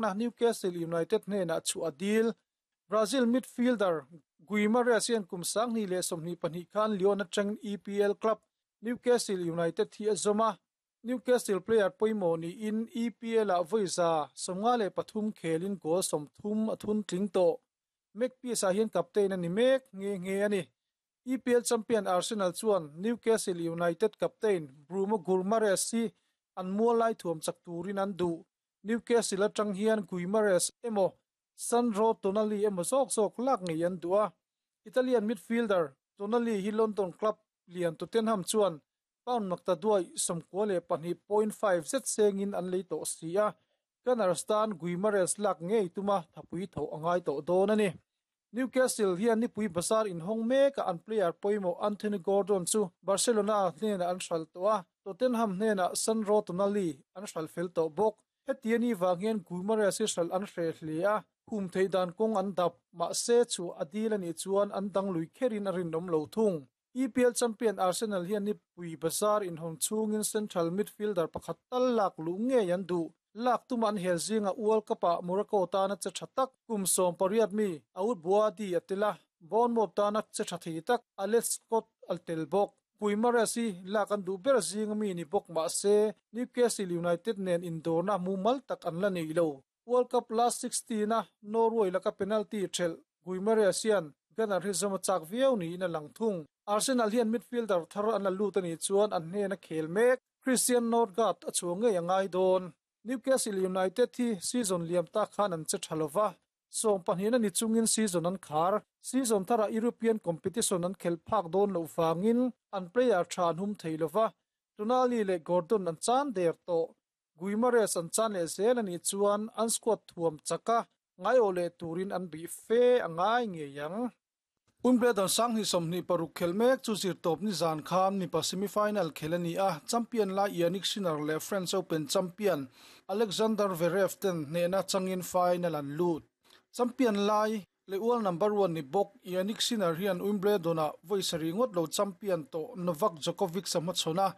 Newcastle United hnenah chhuah a dil. Brazil midfielder Guimares hian kum 2022 khan Lyon atangin EPL club Newcastle United hi a zawm a, Newcastle player pawimawh niin EPL-ah vawi 53 khelin goal 30 a thun tling tawh. Magpies-ah hian captain a ni mek nghe nghe a ni. EPL champion Arsenal chuan Newcastle United captain Bruno Guimaraes hi an mual lai thuam chak turin an duh. Newcastle atang hian Guimaraes emaw Sandro Tonali emaw zawk zawk lak ngei an duh a. Italian midfielder Tonali hi London club lian Tottenham chuan pound makta duai 92.5 zet sengin an lei tawh si a. Gunners tan Guimaraes lak ngei tuma thapui tho a ngai tawh dawn a ni. Newcastle hian nipui bazar inhawng mekah an player pawimawh Anthony Gordon chu Barcelona hnenah an hral tawh a, Tottenham hnenah Sandro Tonali an hral fel tawh bawk. Heti a ni vang hian Guimaraes hi hral an hreh hle a, hum theih dan kawng an dap, mahse chu a dil a nih chuan an dang lui kherin a rinawm lo thung. EPL champion Arsenal hian nipui bazar inhawn chhungin central midfielder pakhat tal lak luh ngei an duh. Lak tuma an hel zinga World Cup-ah Morocco tana che tha tak kum 18 mi Aoud Bouaddi a tel a, Bournemouth tana che tha thei tak Alex Scott a tel bawk. Guimaraes hi lak an duh ber zinga mi ni bawk mahse Newcastle United nen indawrna mumal tak an la nei lo. World Cup last 16-a Norway laka penalty thelh Guimaraes hian Gunner hi zawm a chak viau niin a lang thung. Arsenal hian midfielder thar an la lut a nih chuan an hnena khel mek Christian Norgaard a chhuah ngei a ngai dawn. Newcastle United hi season liam tak khan an che tha lova, 12 a ni chungin season an khar. Season tharah European competition an khelh phak dawn loh vangin an player tha an hum thei lova, Tonali leh Gordon an chan der tawh. Guimaraes an chan leh zel a nih chuan an squad thuam chaka ngaiawh leh turin an bih fe a ngai ngei ang. Wimbledon 2026 khel mek chu zirtawp ni zan khan mipa semi-final khel a ni a, champion lai Jannik Sinner leh French Open champion Alexander Zverev ten hnehna changin final an lut. Champion lai leh world number 1 ni bawk Jannik Sinner hian Wimbledon-ah vawi sarih ngawt lo champion tawh Novak Djokovic a hmachhawn a,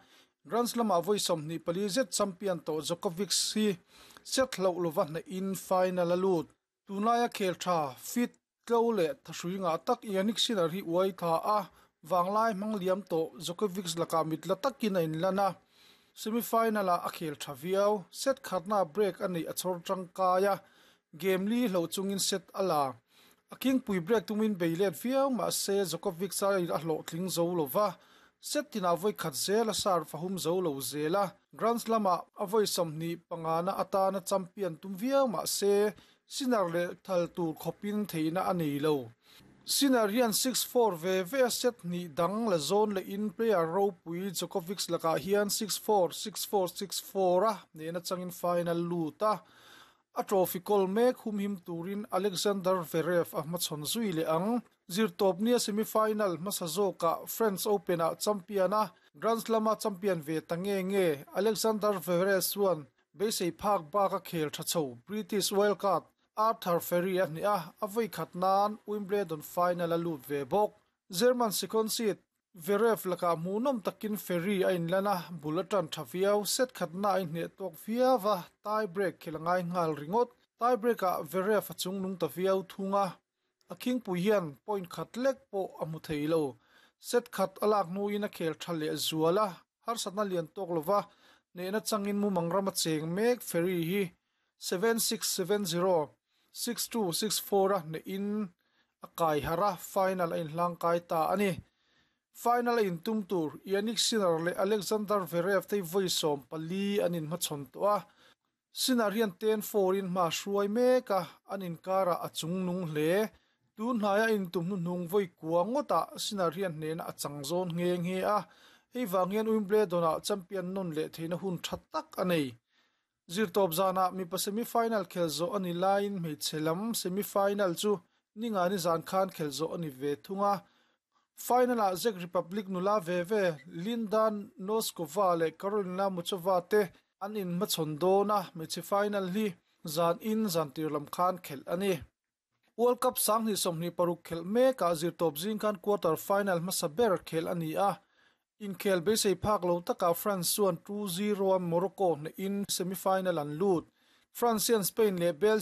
Grand Slam-ah vawi 24 zet champion tawh Djokovic hi set hloh lova hnehin final a lut. Tunlaia khel tha, fit, tlo leh thahrui ngah tak Jannik Sinner hi uai tha a, vanglai hmang liam tawh Djokovic lakah mit la takin a inlan a. Semi-final-ah a khel tha viau, set khatna break a neih a chhawr tangkai a, game li hloh chungin set a la. A khingpui break tumin bei let viau mahse Djokovic a a hlawhtling zo lova, set tinah vawi khat zel a serve a hum zo lo zel a. Grand Slam-ah a vawi 25 na atana champion tum viau mahse Sinner leh thal tur khawpin theihna a nei lo. Sinner hian 6-4 ve ve a set hnih dang la zawn lehin player ropui Djokovic lakah hian 6-4, 6-4, 6-4 a nena changin final lut a. A trophy kawl mek humhim turin Alexander Zverev a hmachhawn zui leh ang. Zirtawp nia semi-final hmasa zawkah French Open-ah champion a, Grand Slam-a champion ve ta nge nge Alexander Zverev chuan beisei phak bak a khel tha chho British wildcard Arthur Fery a hneh a, a vawi khat nan Wimbledon final a lut ve bawk. German second seed Zverev lakah hmuhnawm takin Fery a inlan a, bul a tan tha viau, set khatna a inhneh tawk viau a, tie break khel a ngai nghal ringawt. Tie break-ah Zverev a chungnung ta viau thung a, a khingpui hian point khat lek pawh a hmu thei lo. Set khat a lak hnuin a khel tha leh zual a, harsatna lian tawk lova hnehna changin mumang ram a cheng mek Fery hi 7670, 6264 a hnehin a kai harh a, final a inhlang kai ta a ni. Final a intum tur Jannik Sinner leh Alexander Zverev te hi vawi 14 an inhmachhawn tawh a. Sinner hian 10-4 in hma hruai mek a, an inkarah a chungnung hle. Tun hnaia intum hnuhnung vawi kua ngawtah Sinner hian hnehna a chang zawn nghe nghe a, hei vang hian Wimbledon-ah champion nawn leh theihna hun tha tak a nei. Zirtawp zanah mipa semi-final khel zawh a ni laiin hmeichhe lam semi-final chu ningani zan khan khel zawh a ni ve thung a. Final-ah Czech Republic nula ve ve Linda Noskova leh Karolina Muchova te an inhmachhawn dawn a, hmeichhe final hi zan in zan tir lam khan khelh a ni. World Cup 2026 khelh mekah zirtawp zing khan quarter final hmasa ber khelh a ni a. Inkhel beisei phak lo takah France chuan 2-0 a Morocco hnehin semi-final an lut. France hian Spain leh Belgium.